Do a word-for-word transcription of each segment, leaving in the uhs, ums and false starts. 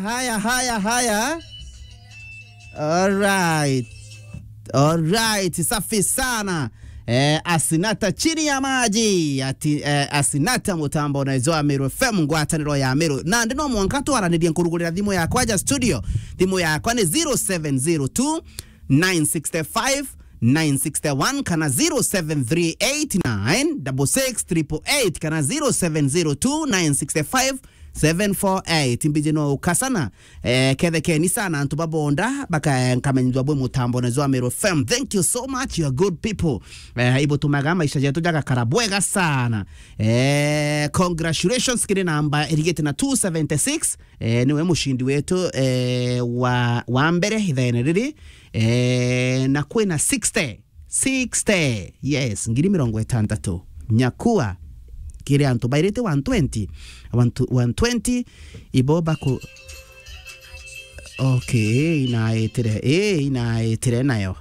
Haya, haya, haya. Alright. Alright, safi sana. Eh, Asinata chini ya maji. Ati, eh, Asinata mutambo na izo Ameru F M, ngwataniro ya Ameru. Na ndi no mwanka twaranirie nkurugurira thimu yakwa ja studio. Thimu yakwa ni zero seven zero two, nine six five, nine six one kana zero seven three eight nine six six triple eight kana zero seven zero two, nine six five, seven four eight. Mbiji no ukasana. Eh, kethekeni sana antu babonda, baka, eh, nkamenyithua bwe mutambo na zwa Meru F M. Thank you so much, you are good people. Eh, ibutumaga maisha jetu jagakara bwega sana. Eh, congratulations kiri namba irigite na two seventy six. Eh, niwe mushindi wetu, eh, wa, wa mbere ithaene riri. Eh, na kwina sixty. Sixty. Yes, ngiri mirongo itantatu. Nyakua kiri antu bairite one twenty. One tw-, one twenty, ibo baku-, okay, inaitire, eh, inaitire nayo.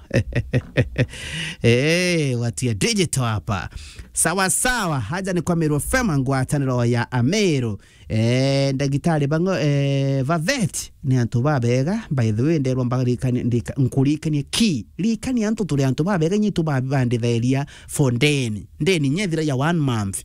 Eh, watia digital hapa. Sawa sawa, haja ni kwa Meru F M, ngwataniro ya Ameru. Eh, ndagitari bango, eh, Vavet, ni antu babega, by the way, nderwa mbaga rikani-, ndika-, nkurikanie ki, rikani antu turi antu babega, nyi tubabandithiria for ndeni. Ndeni nyethira ya one month.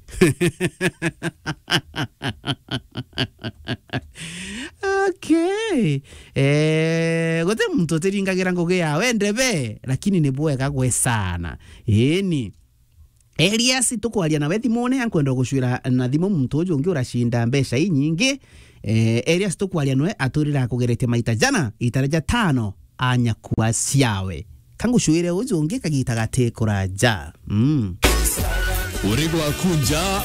Okay. Eh, guti muntu utiringagira ngugi ya wendebe, lakini ni bwega gwe sana. Ini. Elias, tukwaria nawe thimune, ankwenda gucwira na thimu muntu uju ungi uracinda mbeca inyingi. Eh, Elias, tukwaria nawe aturira akugeretie maita jana, itare ja tano, anyakua ciawe. Kangucwire uju ungi kagita gati kuraja. Mm. Uri gwaku nja,